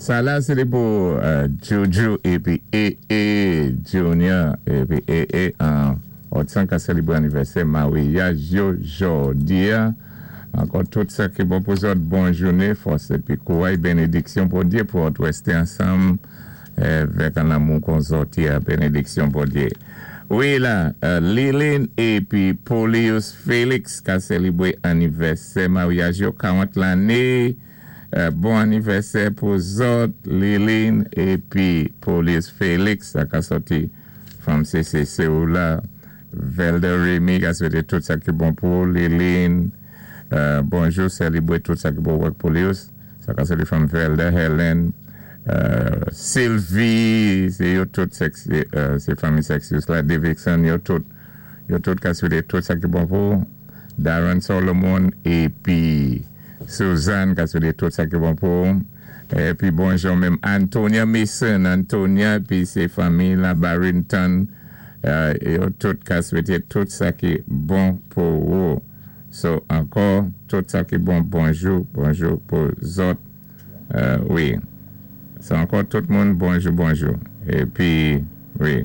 Sa la sé té pou Juju épi EE Junior épi EE an Otsan ka sélébwé anivèsè maryaj yo jòdi-a. Ankò tout sa ki bon pou zòt, bon jouné, fòs épi kouray, bénédiksyon Bondyé pou òt rèsté ansanm vèk an lanmou kon zòt yé-a, bénédiksyon Bondyé. Wi la, Liline épi Polius Félix ka sélébwé anivèsè maryaj yo 40 lanné. Bon anivèsè pou zòt Liline épi Polius Félix, sa ka sòti fanm CCC ou la. Velder Remy ka swété tout sa ki bon pou ou Liline. Bonjou sèlibre tout sa ki bon wèk Polius, sa ka sòti fanm Velder Helen, Sylvie, sé yo tout sé fanmi Sexius la, Davidson yo tout yo tout ka swété tout sa ki bon pou ou Darren Solomon épi Suzanne ka swete tout sa ki bon pou ou. Epi bonjou menm Antonia Mason, Antonia epi se fanmi la Barrington yo tout ka swete tout sa ki bon pou ou. So ankò tout sa ki bon bonjou bonjou pou zòt wi. So ankò tout moun bonjou bonjou epi wi.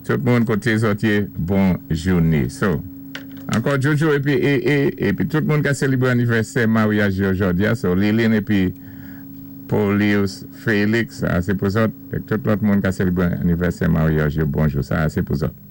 Tout moun koté zòt yé bon jouné. So ankò Jojo épi EE épi tout moun ka selibré anivèsè maryaj yo jòdia so Liline épi Polius Felix sa se pou zòt ek tout lòt moun ka selibré anivèsè maryaj yo bonjou sa se pou zòt.